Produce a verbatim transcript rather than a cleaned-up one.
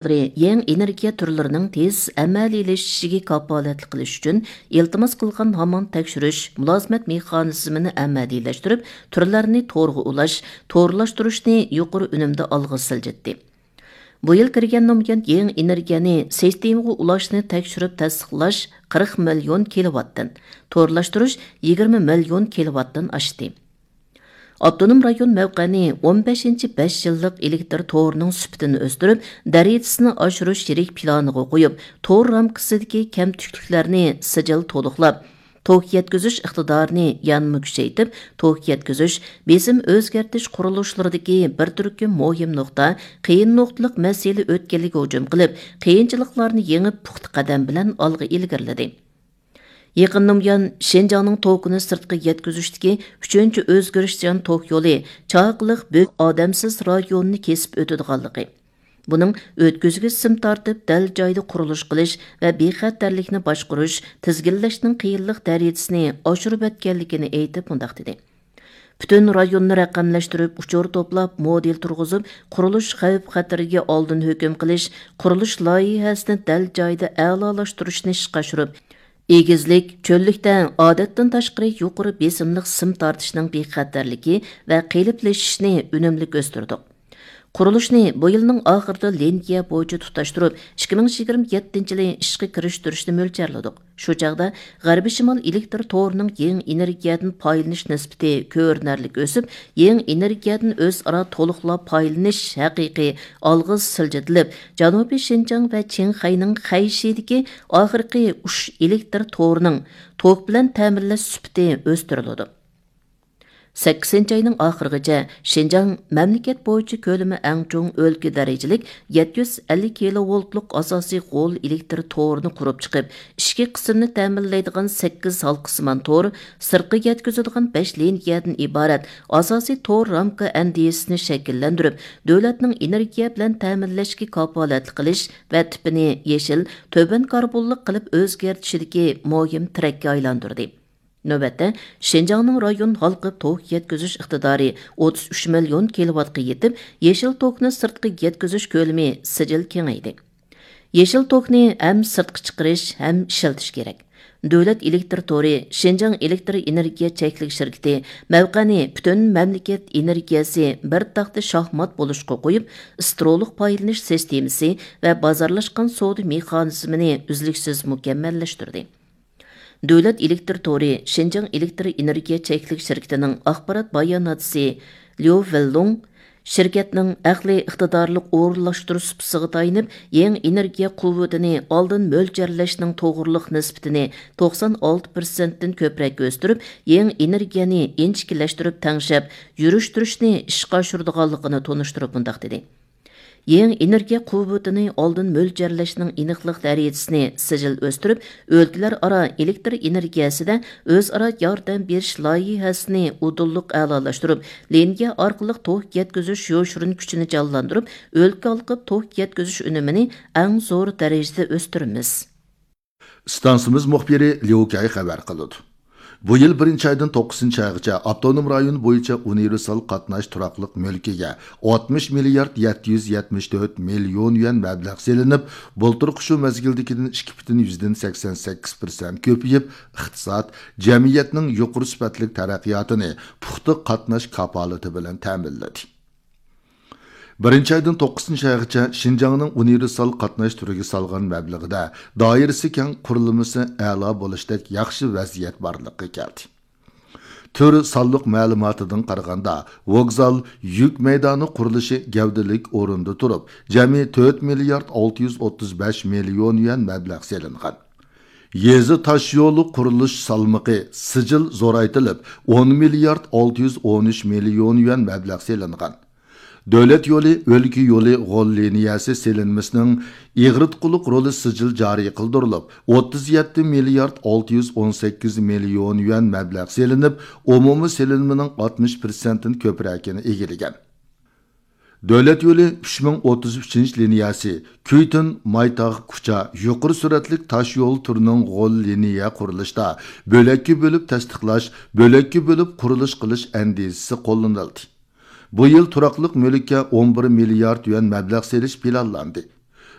يېڭى ئېنېرگىيە تۈرلىرىنىڭ تېز ئەمەلىيلىشىشىگە كاپالەتلىك قىلىش ئۈچۈن ئىلتىماس قىلغان ھامان تەكشۈرۈش، مۇلازىمەت مېخانىزمىنى ئەمەلىيلەشتۈرۈپ، تۈرلەرنى تورغا ئۇلاش، تورلاشتۇرۇشنى يۇقىرى ئۈنۈمدە ئالغا سىلجىتتى. بۇ يىل كىرگەندىن بۇيان، يېڭى ئېنېرگىيەنى سىستېمىغا ئۇلاشنى تەكشۈرۈپ تەستىقلاش قىرىق مىليون كىلوۋاتتىن، تورلاشتۇرۇش يىگىرمە مىليون كىلوۋاتتىن ئاشتى. ئاپتونوم رايون مەۋقەنى ئون بەشىنچى بەش يىللىق ئېلېكتر تورىنىڭ سۈپىتىنى ئۆستۈرۈپ، دەرىجىسىنى ئاشۇرۇش يىرىك پىلانىغا قويۇپ، تور رامكىسىدىكى كەمتۈكلۈكلەرنى سىجىل تولۇقلاپ، توك يەتكۈزۈش ئىقتىدارىنى يەنىمۇ كۈچەيتىپ، توك يەتكۈزۈش، بېسىم ئۆزگەرتىش قۇرۇلۇشلىرىدىكى بىر تۈركۈم مۇھىم نۇقتا، قىيىن نۇقتىلىق مەسىلە ئۆتكەلگە ھۇجۇم قىلىپ، قىيىنچىلىقلارنى يېڭىپ، پۇختا قەدەم بىلەن ئالغا ئىلگىرىلىدى. يېقىندىن بۇيان، شىنجاڭنىڭ توكىنى سىرتقا يەتكۈزۈشتىكى ئۈچىنچى ئۆزگىرىشچان توك يولى چاقىلىق بۆك ئادەمسىز رايونىنى كېسىپ ئۆتىدىغانلىقى، بۇنىڭ ئۆتكۈزگۈچ سىم تارتىپ، دەل جايىدا قۇرۇلۇش قىلىش ۋە بىخەتەرلىكنى باشقۇرۇش، تىزگىنلەشنىڭ قىيىنلىق دەرىجىسىنى ئاشۇرۇۋەتكەنلىكىنى ئېيتىپ، مۇنداق دېدى: پۈتۈن رايوننى رەقەملەشتۈرۈپ، ئۇچۇر توپلاپ، مودېل تۇرغۇزۇپ، قۇرۇلۇش خەۋپ-خەتىرىگە ئالدىن ھۆكۈم قىلىش، قۇرۇلۇش لايىھەسىنى دەل جايىدا ئەلالاشتۇرۇشنى ئىشقا ئاشۇرۇپ، ئېگىزلىك، چۆللۈكتە ئادەتتىن تاشقىرى يۇقىرى بېسىملىق سىم تارتىشنىڭ بىخەتەرلىكى ۋە قېلىپلىشىشىنى ئۈنۈملۈك ئۆستۈردۇق. قۇرۇلۇشنى بۇ يىلنىڭ ئاخىرىدا لىنىيە بويىچە تۇتاشتۇرۇپ، ئىككى مىڭ يىگىرمە يەتتىنچى يىلى ئىشقا كىرىشتۈرۈشنى مۆلچەرلىدۇق. شۇ چاغدا غەربىي شىمال ئېلېكتر تورىنىڭ يېڭى ئېنېرگىيەدىن پايدىلىنىش نىسبىتى كۆرۈنەرلىك ئۆسۈپ، يېڭى ئېنېرگىيەدىن ئۆزئارا تولۇقلاپ پايدىلىنىش ھەقىقىي ئالغا سىلجىتىلىپ، جەنۇبىي شىنجاڭ ۋە چىڭخەينىڭ خەيشىدىكى ئاخىرقى ئۈچ ئېلېكتر تورىنىڭ توك بىلەن تەمىنلەش سۈپىتى ئۆستۈرۈلىدۇ. سەككىزىنچى ئاينىڭ ئاخىرىغىچە شىنجاڭ مەملىكەت بويىچە كۆلىمى ئەڭ چوڭ ئۆلكە دەرىجىلىك يەتتە يۈز ئەللىك كىلوۋولتلۇق ئاساسىي غول ئېلېكتر تورىنى قۇرۇپ چىقىپ، ئىچكى قىسىمنى تەمىنلەيدىغان سەككىز ھالقىسىمان تور، سىرتقا يەتكۈزىدىغان بەش لىنىيەدىن ئىبارەت ئاساسىي تور رامكا ئەندىزىسىنى شەكىللەندۈرۈپ، دۆلەتنىڭ ئېنېرگىيە بىلەن تەمىنلەشكە كاپالەتلىك قىلىش ۋە تىپىنى يېشىل، تۆۋەن كاربونلۇق قىلىپ ئۆزگەرتىشىدىكى مۇھىم تىرەككە ئايلاندۇردى. نۆۋەتتە، شىنجاڭنىڭ رايون ھالقىپ توك يەتكۈزۈش ئىقتىدارى ئوتتۇز ئۈچ مىليون كىلوۋاتقا يېتىپ، يېشىل توكنى سىرتقا يەتكۈزۈش كۆلىمى سىجىل كېڭەيدى. يېشىل توكنى ھەم سىرتقا چىقىرىش، ھەم ئىشلىتىش كېرەك. دۆلەت ئېلېكتر تورى، شىنجاڭ ئېلېكتر ئېنېرگىيە چەكلىك شىركىتى مەۋقەنى پۈتۈن مەملىكەت ئېنېرگىيەسى بىر تاختا شاھمات بولۇشقا قويۇپ، ئىسترولۇق پايدىلىنىش سىستېمىسى ۋە بازارلاشقان سودا مېخانىزمىنى ئۈزلۈكسىز مۇكەممەللەشتۈردى. دۆلەت ئېلېكتر تورى شىنجاڭ ئېلېكتر ئېنېرگىيە چەكلىك شىركىتىنىڭ ئاخبارات باياناتچىسى ليۇ ۋېنلۇڭ شىركەتنىڭ ئەقلىي ئىقتىدارلىق ئورۇنلاشتۇرۇش سۇپىسىغا تايىنىپ، يېڭى ئېنېرگىيە قۇۋۋىتىنى ئالدىن مۆلچەرلەشنىڭ توغرىلىق نىسبىتىنى توقسان ئالتە پىرسەنتتىن كۆپرەك ئۆستۈرۈپ، يېڭى ئېنېرگىيەنى ئىنچىكىلەشتۈرۈپ تەڭشەپ، يۈرۈشتۈرۈشنى ئىشقا ئاشۇرىدىغانلىقىنى تونۇشتۇرۇپ مۇنداق دېدى: يېڭى ئېنېرگىيە قۇۋۋىتىنى ئالدىن مۆلچەرلەشنىڭ ئېنىقلىق دەرىجىسىنى سىجىل ئۆستۈرۈپ، ئۆلكىلەر ئارا ئېلېكتر ئېنېرگىيەسىدە ئۆزئارا ياردەم بېرىش لايىھەسىنى ئۇدۇللۇق ئەلالاشتۇرۇپ، لىنىيە ئارقىلىق توك يەتكۈزۈش يوشۇرۇن كۈچىنى جانلاندۇرۇپ، ئۆلكە ھالقىپ توك يەتكۈزۈش ئۈنۈمىنى ئەڭ زور دەرىجىدە ئۆستۈرىمىز. ئىستانسىمىز مۇخبىرى ليۇ كەي خەۋەر قىلىدۇ. بۇ يىل بىرىنچى ئايدىن توققۇزىنچى ئايغىچە ئاپتونوم رايون بويىچە ئۇنىۋېرسال قاتناش تۇراقلىق مۈلكىگە ئاتمىش مىليارد يەتتە يۈز يەتمىش تۆت مىليون يۈەن مەبلەغ سېلىنىپ، بۇلتۇرقى شۇ مەزگىلدىكىدىن ئىككى پۈتۈن يۈزدىن سەكسەن سەككىز پىرسەنت كۆپىيىپ، ئىقتىساد، جەمئىيەتنىڭ يۇقىرى سۈپەتلىك تەرەققىياتىنى پۇختا قاتناش كاپالىتى بىلەن تەمىنلىدى. بىرىنچى ئايدىن توققۇزىنچى ئايغىچە شىنجاڭنىڭ ئۇنىۋېرسال قاتناش تۈرىگە سالغان مەبلىغىدە دائىرىسى كەڭ، قۇرۇلمىسى ئەلا بولۇشتەك ياخشى ۋەزىيەت بارلىققا كەلدى. تۈر سانلىق مەلۇماتىدىن قارىغاندا، ۋوگزال، يۈك مەيدانى قۇرۇلۇشى گەۋدىلىك ئورۇندا تۇرۇپ، جەمئىي تۆت مىليارد ئالتە يۈز ئوتتۇز بەش مىليون يۈەن مەبلەغ سېلىنغان. يېزا تاشيولى قۇرۇلۇش سالمىقى سىجىل زورايتىلىپ، ئون مىليارد ئالتە يۈز ئون ئۈچ مىليون يۈەن مەبلەغ سېلىنغان. دۆلەت يولى، ئۆلكە يولى غول لىنىيەسى سېلىنمىسىنىڭ ئېغىرتقۇلۇق رولى سىجىل جارى قىلدۇرۇلۇپ، ئوتتۇز يەتتە مىليارد ئالتە يۈز ئون سەككىز مىليون يۈەن مەبلەغ سېلىنىپ، ئومۇمىي سېلىنمىنىڭ ئاتمىش پىرسەنتتىن كۆپرەكىنى ئىگىلىگەن. دۆلەت يولى ئۈچ مىڭ ئوتتۇز ئۈچىنچى لىنىيەسى، كۈيتۈن، مايتاغ، كۇچا يۇقىرى سۈرئەتلىك تاش يول تۈرىنىڭ غول لىنىيە قۇرۇلۇشىدا بۆلەككە بۆلۈپ تەستىقلاش، بۆلەككە بۆلۈپ قۇرۇلۇش قىلىش ئەندىزىسى قوللىنىلدى. بۇ يىل تۇراقلىق مۈلۈككە ئون بىر مىليارد يۈەن مەبلەغ سېلىش پىلانلاندى.